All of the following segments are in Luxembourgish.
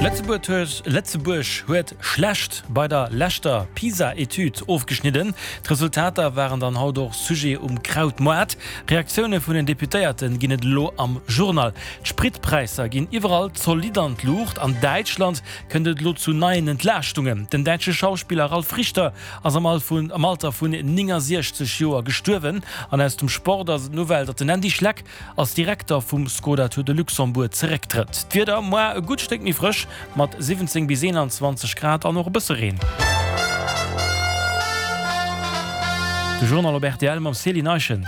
Lëtzebuerg huet schlecht bei der leschter PISA-Etüd ofgeschnidden. D'Resultater waren dann haut och Sujet um Krautmoart. Reaktioune vun den Deputéierte ginn et elo am Journal. D'Spritpräisser ginn iwwerall zolidd an d'Luucht. An Däitschland kënnt et elo zu neien Entlaaschtungen. Den däitsche Schauspiller Ralf Richter ass am Alter vun 69 Joer gestuerwen. An aus dem Sport ass et d'Nouvelle, datt den Andy Schleck als Direkter vum Skoda Tour de Luxembourg zerécktrëtt. D'Wieder, Moar e gutt Stéck méi frësch mat 17 bis 21 Grad an och e bësse Reen. De Journal op rtl mam Céline Eischen.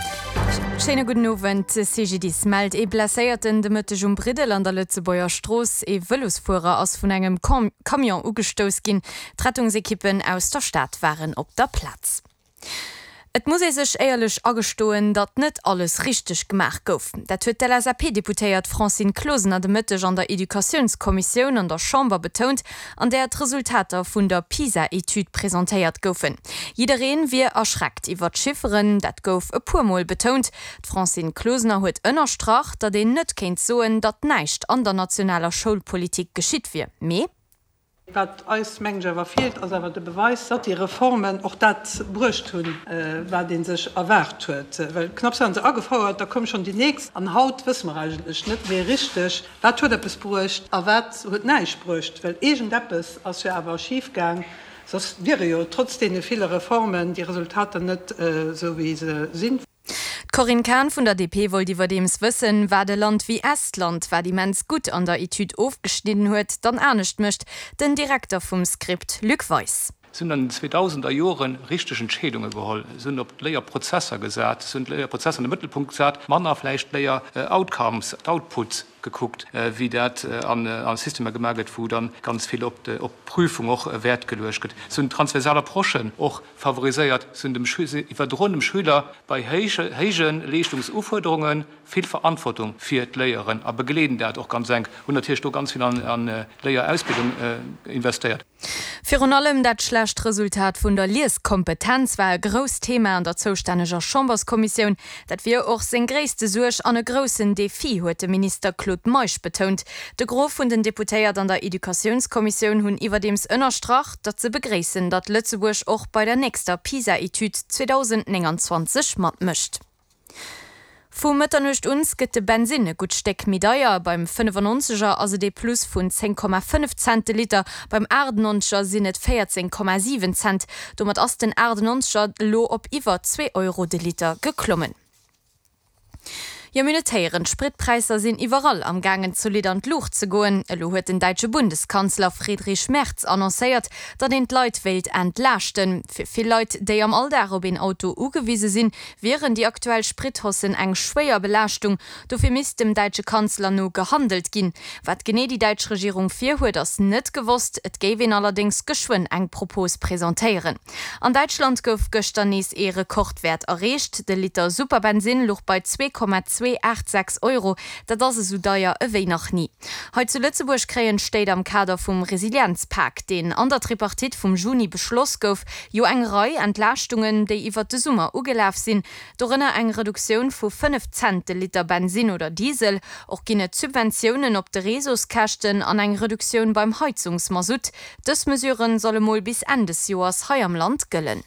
Schéine gudden Owend. De CGDIS mellt ee Blesséierten de Mëtteg um Briddel an der Lëtzebuerger Strooss. Ee Vëlosfuerer ass vun engem Camion ugestouss ginn. D'Rettungsekippen aus der Stad waren op der Plaz. Et muss ee sech éierlech agestoen, datt net alles richteg gemaach gouf. Dat huet d'LSAP-Deputéiert Francine Closener de Mëtteg an der Educatiounskommissioun an der Chamber betount, an där d'Resultater vun der PISA-Etüd presentéiert goufen. Jidderee wier erschreckt iwwer d'Chifferen, dat gouf e puer Mol betount. D'Francine Closener huet ënnerstrach, datt een net kéint soen, datt näischt an der nationaler Schoulpolitik geschitt wier, mee. Wat eis, mengen ech, awer feelt, ass awer de Beweis, datt déi Reformen och dat bruecht hunn, wat ee sech erwaart huet. Well knapps waren se agefouert, da koum schonn déi nächst. An haut wësse mer eigentlech net méi richteg, wat huet eppes bruecht a wat huet näischt bruecht. Well iergendeppes ass jo awer schifgaang, soss wiere jo trotz deene ville Reformen déi Resultater net esou, wéi se sinn. D'Corinne Cahen vun der DP wollt iwwerdeems wëssen, wat e Land wéi Estland, wat immens gutt an der Etüd ofgeschnidden huet, dann anescht mécht. Den Direkter vum Script Luc Weis. Se hunn an den 2000er Jore richteg Entscheedunge geholl. Se hunn op d'Léierprozesser gesat. Se hunn d'Léierprozesser an de Mëttelpunkt gesat, manner vläicht d'Léieroutcomes, d'Outputs gekuckt, wéi dat a Systemer gemaach gëtt, wou dann ganz vill op d'Prüfung och Wäert geluecht gëtt. Se hunn transversal Approchen och favoriséiert, se hunn dem se iwwerdroen dem Schüler bei héije Leeschtungsufuerderunge vill Verantwortung fir d'Léieren a begleeden dat och ganz enk, hunn natierlech do ganz vill an d'Léierausbildung investéiert. Virun allem dat schlecht Resultat vun der Lieskompetenz war e grousst Thema an der zoustänneger Chamberskommissioun. Dat wier och seng gréisste Suerg an e groussen Defi, huet de Minister Claude Meisch betount. De Gros vun den Deputéiert an der Educatiounskommissioun hunn iwwerdeems ënnerstrach, datt se begréissen, datt Lëtzebuerg och bei der nächster PISA-Etüd 2029 matmécht. Vu Mëtternuecht uns gëtt de Bensinn e gutt Stéck méi deier. Beim 95 er ass et ee Plus vun 10,5 Cent de Liter, beim 98 er sinn et 14,7 Cent. Domat ass den 98 er elo op iwwer zwee Euro de Liter geklommen. Jo, mir hunn et héieren, d'Spritpräisser sinn iwwerall am gaangen zolidd an d'Luucht ze goen. Elo huet den däitsche Bundeskanzler Friedrich Merz annoncéiert, datt een d'Leit wéilt entlaaschten. Fir vill Leit, déi am Alldag op een Auto ugewise sinn, wieren déi aktuell Sprithaussen eng schwéier Belaaschtung. Dofir misst dem däitsche Kanzler no gehandelt ginn. Wat genee déi däitsch Regierung virhuet, ass net gewosst. Et géif een allerdéngs geschwënn eng Propos presentéieren. An Däitschland gouf gëschter nees ee Rekordwäert erreecht. De Liter Superbensinn luch bei 2,286 Euro. Dat ass esou deier ewéi nach ni. Hei zu Lëtzebuerg kréien d'Stéit am Kader vum Resilienzpak, deen an der Tripartite vum Juni beschloss gouf, jo eng Rei Entlaaschtungen, déi iwwert de Summer ugelaf sinn, dorënner eng Reduktioun vu 5 Cent de Liter Bensinn oder Diesel. Och ginn et Subventiounen op de Réseauskäschten an eng Reduktioun beim Heizungsmasutt. Dës Mesurë solle mol bis Enn des Joers hei am Land gëllen.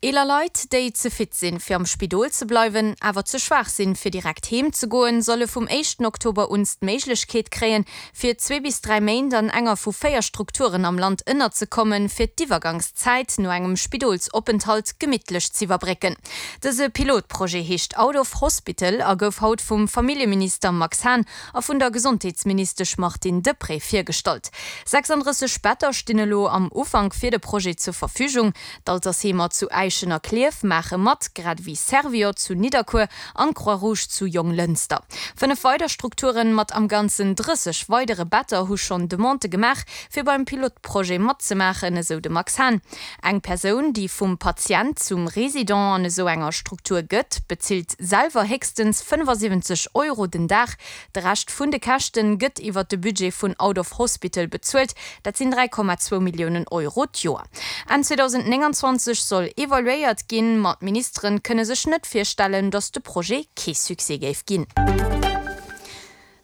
Eeler Leit, déi ze fit sinn, fir am Spidol ze bleiwen, awer ze schwaach sinn, fir direkt heem ze goen, solle vum éischten Oktober uns d'Méiglechkeet kréien, fir zwee bis 3 Méint an enger vu 4 Strukturen am Land ënnerzekommen, fir d'Iwwergangszäit no engem Spidolsopenthalt gemittlech z'iwwerbrécken. Dëse Pilotprojet heescht Out of Hospital a gouf haut vum Familljeminister Max Hahn a vun der Gesondheetsministesch Martine Deprez virgestallt. 36 Better stinn elo am Ufank fir de Projet zur Verfügung. D'Altersheemer zu Äischen a Klierf maache mat, grad ewéi Servior zu Nidderkuer an d'Croix-Rouge zu Jonglënster. 5 weider Strukturen mat am Ganzen 30 weidere Better hu schonn Demandë gemaach, fir beim Pilotprojet matzemaachen, esou de Max Hahn. Eng Persoun, déi vum Patient zum Resident an esou enger Struktur gëtt, bezilt selwer héchstens 75 Euro den Dag. De Rescht vun de Käschten gëtt iwwer de Budget vun Out of Hospital bezuelt, dat sinn 3,2 Milliounen Euro d'Joer. Enn 2029 soll evaluéiert ginn, ma d'Ministeren kënne sech net virstellen, datt de Projet kee Succès géif ginn.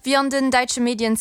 Wéi an den däitsche Medien ze.